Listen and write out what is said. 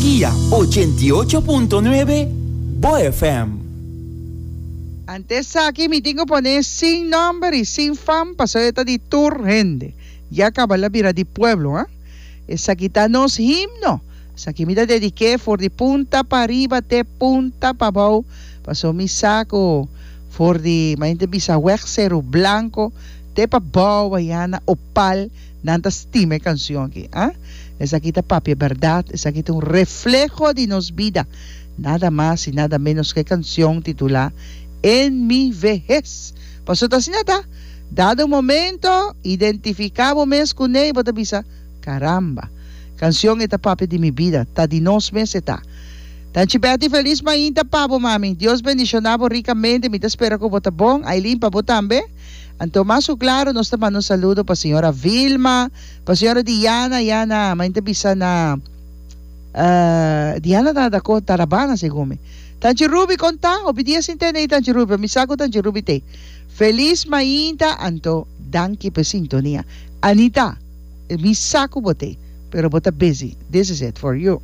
Guia 88.9 Bo FM. Ante esaki mi tin ku pone sin nomber y sin fam pasobra e ta di tur hende. Ya caba la bira di pueblo ha. Esaki ta nos himno. Esaki mi ta dediké for di punta pariba te punta pabou pasobra mi sa ku for di ma hende bisa weg Seru Blanco te pabou aya na Opal nan ta stima e canción aki ah. Esaki ta papia berdad, esaki ta un refleho di nos bida. Nada mas y nada menos ku e canción titulá En mi vehez. Pasobra ta asina ta. Dado un momento, identifiká bo mes kuné i bo ta bisa, Caramba! Canción e ta papia di mi bida, ta di nos mes e ta. Tanchi Betty felis mainta pa bo mami. Dios bendiciona bo ricamente, mi ta spera cu bo ta bon, Aileen pa bo tambe. Anto mas cu claro nos ta manda un saludo pa señora Vilma, pa señora Diana, ya na, mainta bisa na Diana ta na Dakota, Tarabana segun mi. Tanchi Ruby con ta? Hopi dia sin tende di Tanchi Ruby, pero mi sa cu Tanchi Ruby t'ey. Felis mainta anto danki pa e sintonia. Anita, mi sa cu bo t'ey, pero bo ta busy. This is it for you.